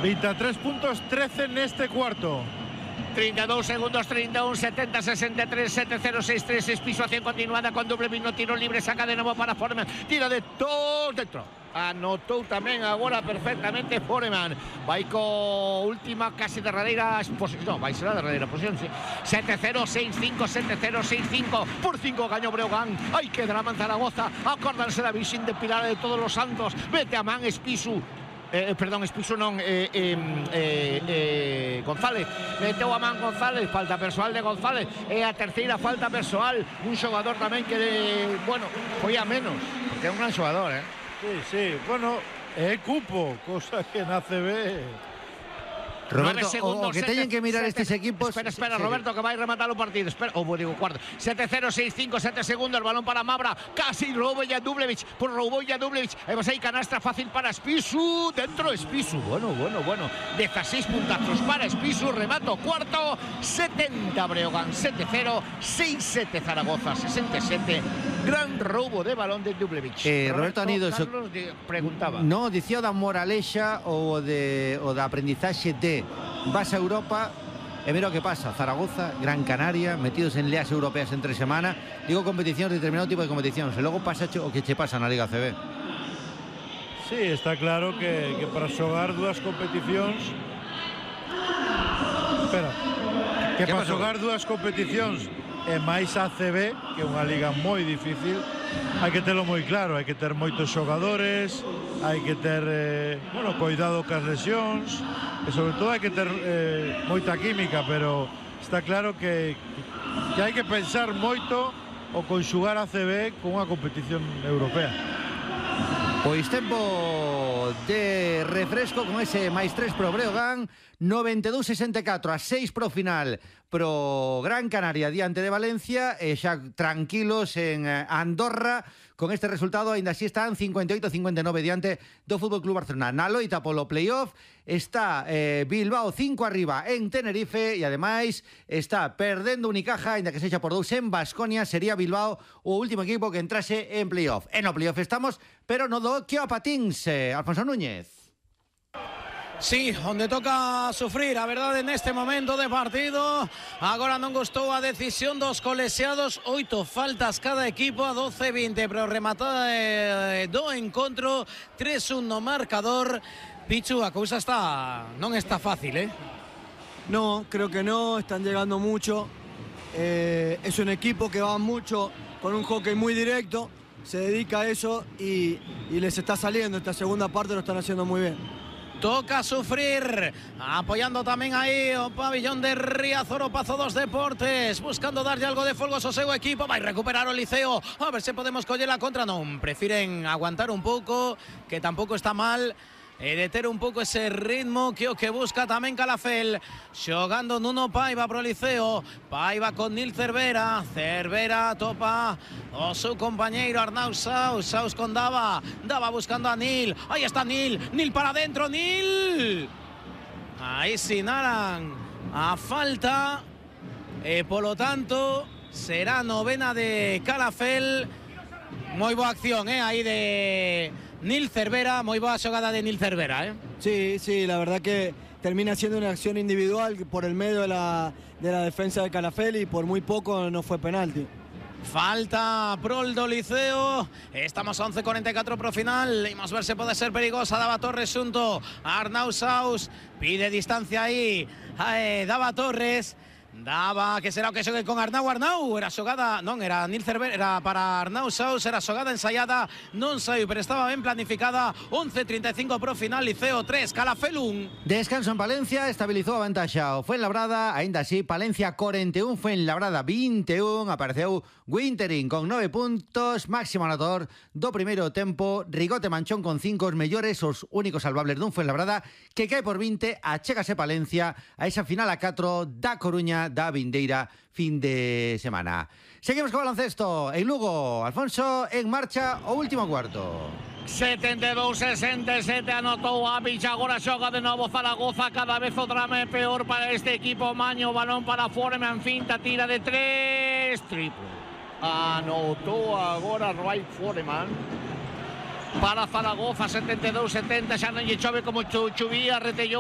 23 puntos, 13 neste cuarto. 32 segundos, 31, 70, 63, 7-0, 6-3, expisuación continuada con doble vino, tiro libre, saca de nuevo para Foreman, tira de todo dentro. Anotou tamén agora perfectamente Foreman. Vai co última casi derradeira posición. No, vai ser a derradeira posición, sí. 7-0, 6-5, 7-0, 6-5. Por 5 gaño Breogán. Hai que drama en Zaragoza. Acórdanse da Virxen de Pilar de Todos los Santos. Vete a man Espisu. Perdón, Espisu non, González. Meteu a man González, falta persoal de González. É a terceira falta persoal. Un xogador tamén que, bueno, foi a menos, porque é un gran xogador, Sí, bueno, é cupo, cosa que na CB. Roberto, o que teñen que mirar estes equipos. Espera, Roberto, que vai rematar o partido. Espera, digo cuarto. 7-0, 6-5, 7 segundos. El balón para Mabra. Casi roubou Jadublevic. Por roubou Jadublevic. Vamos aí, canastra fácil para Espisu. Dentro Espisu. Bueno. 16 puntazos para Espisu. Remato cuarto. 70 Breogán. 7-0. 6-7 Zaragoza. 67. Gran roubo de balón de Jadublevic. Roberto Anido, Carlos preguntaba. No, dicía da moralexa ou da aprendizaxe de vas a Europa e mira o que pasa. Zaragoza, Gran Canaria, metidos en leas europeas en 3 semanas. Digo competicións, determinado tipo de competicións. E logo pasa o que che pasa na Liga CB. Sí, está claro que para xogar dúas competicións. Espera. Que para xogar dúas competicións e máis a CB, que é unha liga moi difícil, hai que telo moi claro, hai que ter moitos xogadores, hai que ter, cuidado cas lesións, e sobre todo hai que ter moita química, pero está claro que hai que pensar moito o conxugar a CB con unha competición europea. Pois tempo de refresco con ese +3 pro Breogán, 92-64 a 6 pro final pro Gran Canaria diante de Valencia, e xa tranquilos en Andorra con este resultado. Ainda así están 58-59 diante do Fútbol Club Barcelona. Na loita polo playoff está Bilbao 5 arriba en Tenerife, e ademais está perdendo Unicaja, ainda que sexa por 2 en Baskonia. Sería Bilbao o último equipo que entrase en playoff. En o playoff estamos, pero no do que a patins, Alfonso Núñez. Sí, onde toca sufrir, a verdade, neste momento de partido. Agora non gustou a decisión dos colexiados. 8 faltas cada equipo a 12-20, pero rematada do encontro. 3-1 no marcador. Pichu, a cousa non está fácil, No, creo que no, están llegando mucho. Es un equipo que va mucho con un hockey muy directo, se dedica a eso y les está saliendo. Esta segunda parte lo están haciendo muy bien. Toca sufrir, apoyando tamén aí o pabillón de Riazor, o Pazo dos Deportes, buscando darlle algo de folgos ao seu equipo. Vai recuperar o Liceo, a ver se podemos coller a contra. Non, prefiren aguantar un pouco, que tampouco está mal, e deter un pouco ese ritmo que o que busca tamén Calafel. Xogando Nuno Paiva pro Liceo, Paiva con Nil Cervera, Cervera topa o seu compañeiro Arnau Saus, Saus con Dava buscando a Nil, aí está Nil para dentro, Nil, aí sinalan a falta e polo tanto será novena de Calafel. Moi boa acción, aí de Nil Cervera, muy buena jugada de Nil Cervera, Sí, la verdad que termina siendo una acción individual por el medio de la defensa de Calafel, y por muy poco no fue penalti. Falta prol do Liceo. Estamos a 11:44 pro final. Imos ver se pode ser perigosa. Dava Torres xunto a Arnau Saus. Pide distancia aí Dava Torres. Dava, que será o que xogue con Arnau. Era xogada, non, era Nil Cervera, era para Arnau Saus, era xogada ensaiada, non saiu, pero estaba ben planificada. 11:35 pro final, Liceo 3, Calafel 1. Descanso en Palencia, estabilizou a vantaxa o Fuenlabrada, aínda así Palencia 41, Fuenlabrada 21, apareceu Wintering con 9 puntos, máximo anotador do primeiro tempo, Rigote Manchón con 5, os mellores, os únicos salvables dun Fuenlabrada que cae por 20, achégase Palencia a esa final a 4 da Coruña da vindeira fin de semana. Seguimos co baloncesto en Lugo. Alfonso, en marcha o último cuarto. 72-67 anotou a Villa, agora xoga de novo Zaragoza, cada vez o drama é peor para este equipo. Maño, balón para Foreman, finta, tira de 3, triple. Anotou agora Ray Foreman para Zaragoza, 72-70, xa non lle chove como chuvía, retellou